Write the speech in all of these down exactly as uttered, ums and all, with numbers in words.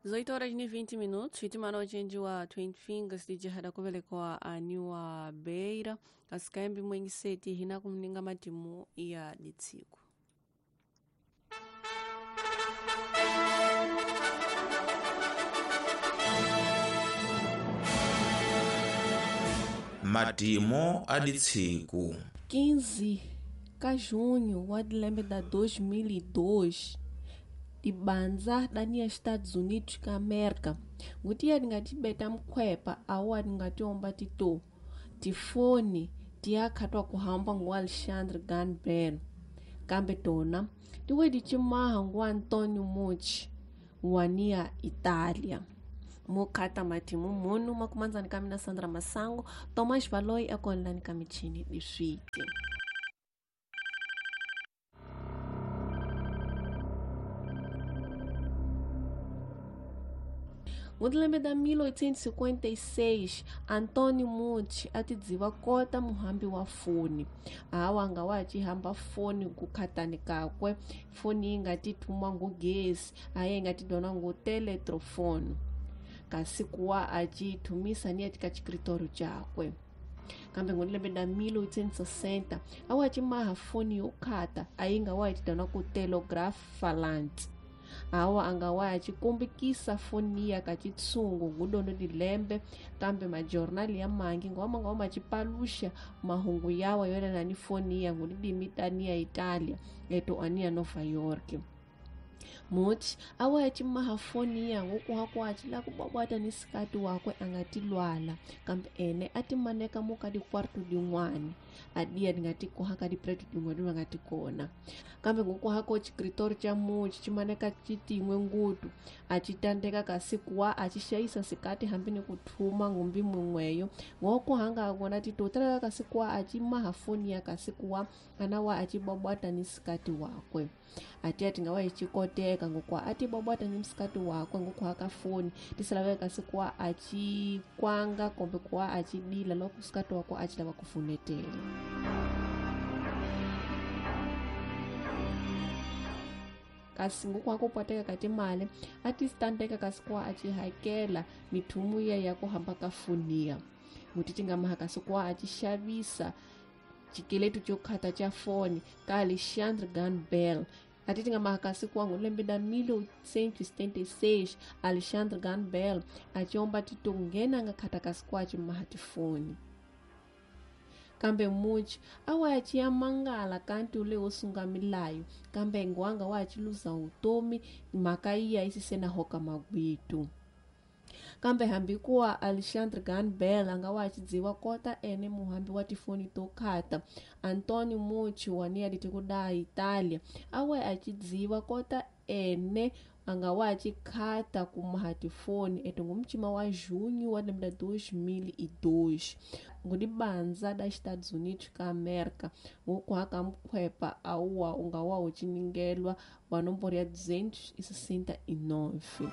Dezoito horas e vinte minutos, hitimana ochenji wa Twin Fingers lijihada kuvelekwa aniwa Beira asikayambi mwengi seti hina kumninga matimu ya ditsiku. Matimo a ditsiku quinze ka junho wa dilembe da dois mil e dois dibanza dania Estados Unidos ka América ngutiya dingatibeta mkhwepa awa dingatiomba tito tifoni tiyakhatwa kuhamba ngu Alexandre Graham Bell kambe tona tiwe dicimaha ngu Antonio Mucci wania Itália. Mukhata matimu munu makumanzani kamina Sandra Masango Tomás Valoi akonlani kamichini diswiti. Ngutilembe da mil oitocentos e cinquenta e seis, Antônio Mucci atidziva kota muhambi wa foni. Awa nga wa cihamba foni kukhatani kakwe, foni yi nga ti thuma ngu gesi, aye nga ti dona ngu teletrofoni. Kasi kuwa a ci thumisa ni eka xikritori cakwe. Kambe ngutilembe da mil oitocentos e sessenta, awa ci maha foni yo khata, ayi nga wa ci dona ku telegraph falante. Awa anga wa cikumbikisa foni ya ka citsungu ngudono dilembe kambe majornali ya mangi ngoma ngoma cipalusha mahungu yawa yona ni foni ya ngulidimita ya Italia eto ania Nova York. Mucci awa cimaha foni ya ngukuha kwaci la kubwabwata ni sikati wakwe angatilwala kambe ene atimaneka muka dikwartu din'wana adiya dingati kuha ka dipreto din'wana vangati kona kambe ngukuha ko xikritori xa Mucci cimaneka citin'we ngutu acitandeka kasi kuwa acixayisa sikati hambi ni kuthuma ngumbi mun'weyo ngokuhanga kona titotalaka kasi kuwa acimaha foni ya kasi kuwa ana wa acibwabwata ni sikati wakwe atiya tingawa icikoteka ngokwa atibwabwata ni msikati wakwe ngokuhaka foni tisalaveka kasi kuwa acikwanga kumbe kuwa acidila loko sikati wakwe acilava kufunetela. Kasi ngokuha kupwateka katimali atisitandeka kasi kuwa acihakela mithumu ya ya kuhamba ka foniya nguti tingamaha kasi kuwa acixavisa xikeletu xo khata xa foni ka Alexandre Graham Bell. Ati tingamaha kasi kuwa ngulembe da mil oitocentos e setenta e seis Alexandre Graham Bell aciomba tito nghena nga khata kasi kuwa acimaha tifoni. Kambe Mucci awa aciya mangala kanti ule wo sunga milayo kambe ngwanga wa aciluza utomi mhaka iya isisena hoka magwitu. Kambe hambi kuwa Alexandre Graham Bell anga wa acidziwa kota ene muhambi wa tifoni to khata Antonio Mucci wania ditikuda Italia awa acidziwa kota ene anga wa acikhata kumaha tifoni eto ngumcima wa junho wa lembe dois mil e dois ngudibanza da Estados Unidos ka América ngokuhaka mkhwepa awa unga wa uciningelwa wa nomboro ya duzentos e sessenta e nove.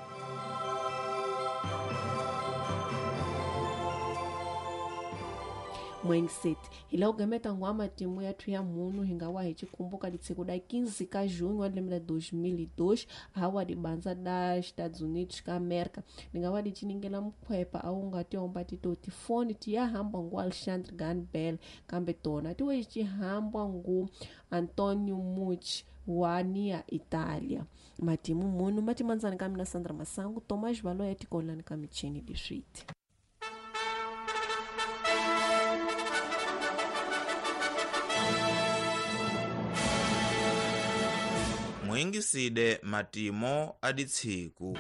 Mwengiset hila ugameta ngwa matimu yathu ya munu hingawa hichikumbuka ditseko da quinze ka junho wa lembe dois mil e dois hawa dibanza da Estados Unidos ka América ningawa dichiningela mkhwepa awu ngatiomba tito tifoni tiyahamba ngu Alexandre Graham Bell kambe tona tiwe cihambwa ngu Antonio Mucci wania Italia. Matimu munu matimanzani kamina Sandra Masango Tomás Valoi atikolani kamichini diswiti. Mwingiside matimo aditsiku.